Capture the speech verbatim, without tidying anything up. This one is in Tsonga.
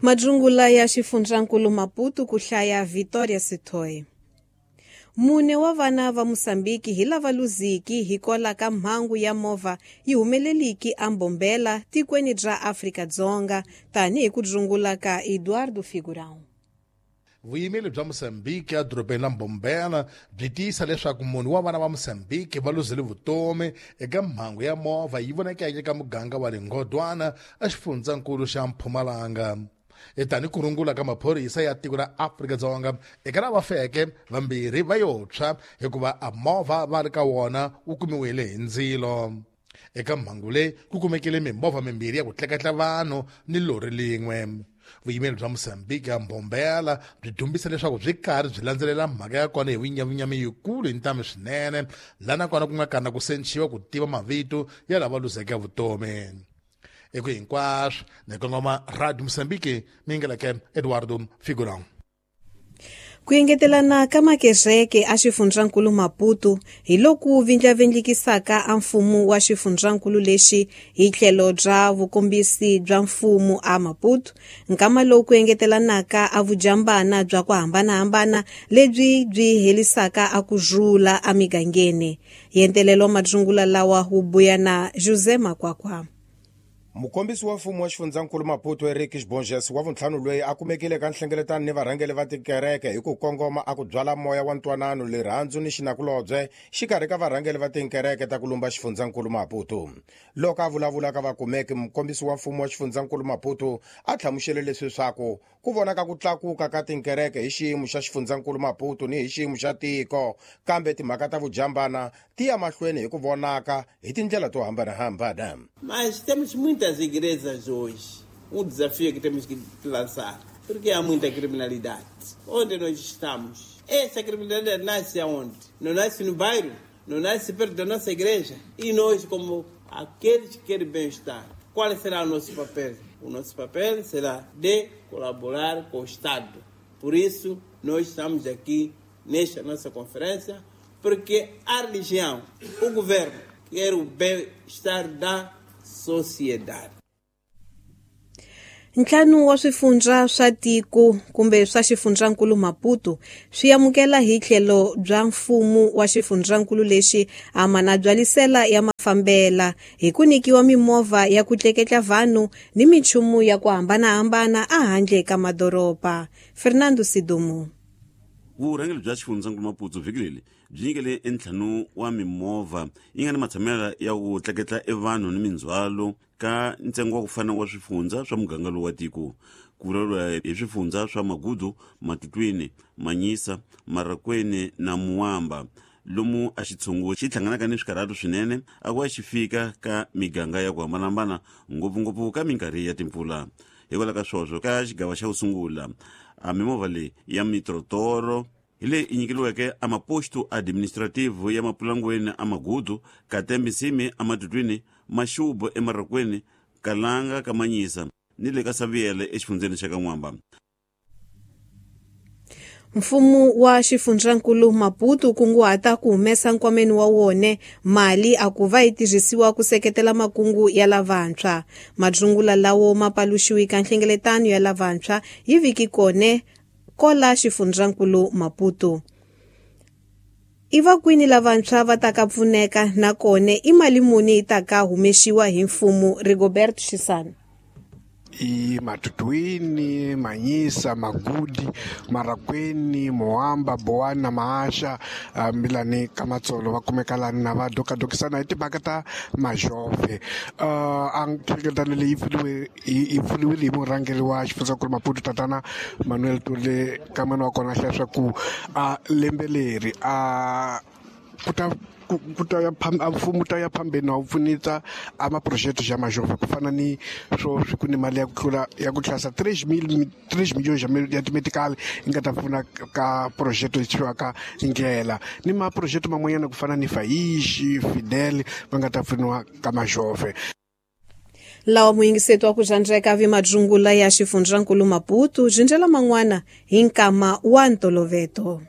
Madzungula ya xifundzankulu Maputo ku hlaya Victoria Sithoi. Mune wa vana va Mosambiki hi lava luziki hikwalaho ka mhangu ya movha yi humeleliki eMbombela tikweni ra Afrika-Dzonga tanihi ku dzungula ka Eduardo Figurão. Vuyimeri bya Mosambiki edorobeni la Mbombela byi tiyisa leswaku munhu wa vana va Mosambiki va luzile vutomi eka mhangu ya movha yi vonakeke eka muganga wa le Ngodwana exifundzankulu xa Mpumalanga. Tani ku rungula ka maphorisa ya tiko ra Afrika-Dzonga eka lava feke vambirhi va yo tshwa hikuva a movha va ri ka wona wu kumiwile hi ndzilo. Eka mhangu leyi ku kumekile mimovha mimbirhi ya ku tleketla vanhu ni lori lin'we. Vuyimeri bya Mosambiki ya Mbombela byi dumbisa leswaku byi karhi byi landzelela mhaka ya kona hi vunyavunyami yikulu hi ntamu swinene, laha nakona ku nga kana ku sechiwa ku tiva mavito ya lava luzeke vutomi. Eku hinkwaswo ni kongoma Radio Mosambiki mingeleke Eduardo Figurão. Ku engetelana ka makereke a xifundzankulu Maputo hi loku vindlavindlikisaka a mfumo wa xifundzankulu lexi hi tlhelo bya vukombisi bya mfumo a Maputo, nkama lowu ku engetelanaka a vujambana bya ku hambanahambana lebyi byi helisaka a ku rhula emigangeni. Yentelelo madzungula lawa wu buya na José Makwakwa. Mukombisi wa mfumo wa xifundzankulu Maputo Eric Xibonges wa vuntlhanu loyi a kumekile ka nhlengeletano ni varhangeri va tikereke hi ku kongoma a ku byala moya wa ntwanano, rirhandzu ni xinakulobye xikarhi ka varhangeri va tikereke ta ku lumba xifundzankulu Maputo. Loko a vulavula ka vakumeki, mukombisi wa mfumo wa xifundzankulu Maputo a hlamusele leswi swaku ku vonaka ku tlakuka ka tikereke hi xiyimo xa xifundzankulu Maputo ni hi xiyimo xa tiko, kambe timhaka ta vujambana ti ya mahlweni hi ku vonaka hi tindlela to hambanahambana. Mas temos muitas igrejas hoje. Um desafio que temos que lançar, porque há muita criminalidade. Onde nós estamos? Essa criminalidade nasce aonde? Não nasce no bairro, não nasce perto da nossa igreja. E nós, como aqueles que querem bem-estar, qual será o nosso papel? O nosso papel será de colaborar com o Estado. Por isso, nós estamos aqui nesta nossa conferência, porque a religião, o governo, quer o bem-estar da sociedade. Ntlhanu wa swifundza swa tiko kumbe swa xifundzankulu Maputo swi amukela hi tlhelo bya mfumo wa xifundzankulu lexi a mana byalisela ya mafambela hi ku nyikiwa mimovha ya ku tleketla vanhu ni minchumu ya ku hambanahambana ehandle ka madoroba. Fernando Sidumo. Vurhangeri bya xifundzankulu Maputo vhiki leri byi nyikele entlhanu wa mimovha yi nga ni matshamelo ya ku tleketla evanhu ni mindzhwalo ka ntsengo wa ku fana wa swifundza swa muganga lowu wa tiko. Ku vulavuriwa hi swifundza swa Magudu, Matutwini, Manyisa, Marakweni na Muwamba, lomu a xitshungu xi hlanganaka ni swikarhato swinene a ku va xi fika ka miganga ya ku hambanahambana, ngopfungopfu ka minkarhi ya timpfula. Hikwalaho ka swoswo ka xigava xa ku sungula a mimovha leyi ya mitrotoro hi leyi yi nyikeriweke a maposto administrative ya Mapulangweni a Magudu, Katembisimi a Matutwini, Maxubo eMarakweni, Kalanga ka Manyisa ni le ka Saviele exifundzeni xa ka N'wamba. Mfumo wa xifundzankulu Maputo kunguhata ku humesa nkwameni wa wona mali a ku va yi tirhisiwa ku seketela makungu ya lavantshwa. Madzungula lawo ma paluxiwi ka nhlengeletano ya lavantshwa yi vhiki kone kola xifundzankulu Maputo. I va kwini lavantshwa va ta ka pfuneka nakona i mali muni yi ta ka humexiwa hi mfumo? Rigobert Xisana. I Matutwini, Manyisa, Magudi, Marakweni, Moamba, Boana, Maasha, Milani, Kamatsolo, va kumeka lani na va dokadokisana hi timhaka ta majove. A nhlengeletano leyi pfuniwe yi pfuniwile hi murhangeri wa xifundzankulu Maputo tatana Manuel Tule kamana wa kona hlaya swa ku a lembe leri a ku ta ku ta ya mfumo ta ya phambeni wa pfuneta a maproject ya majove ku fana ni swo swi ku ni mali ya ku tlula ya ku tlasa three million ya timedical yi nga ta pfuna ka project leyi thiwaka ndlela ni maproject man'wanyana ku fana ni Faishi, Fidel va nga ta pfuniwa ka majove. Lawa muyingiseto wa ku xandzeka vi madzungula ya xifundzankulu Maputo byi ndlela man'wana hi nkama wa ntoloveto.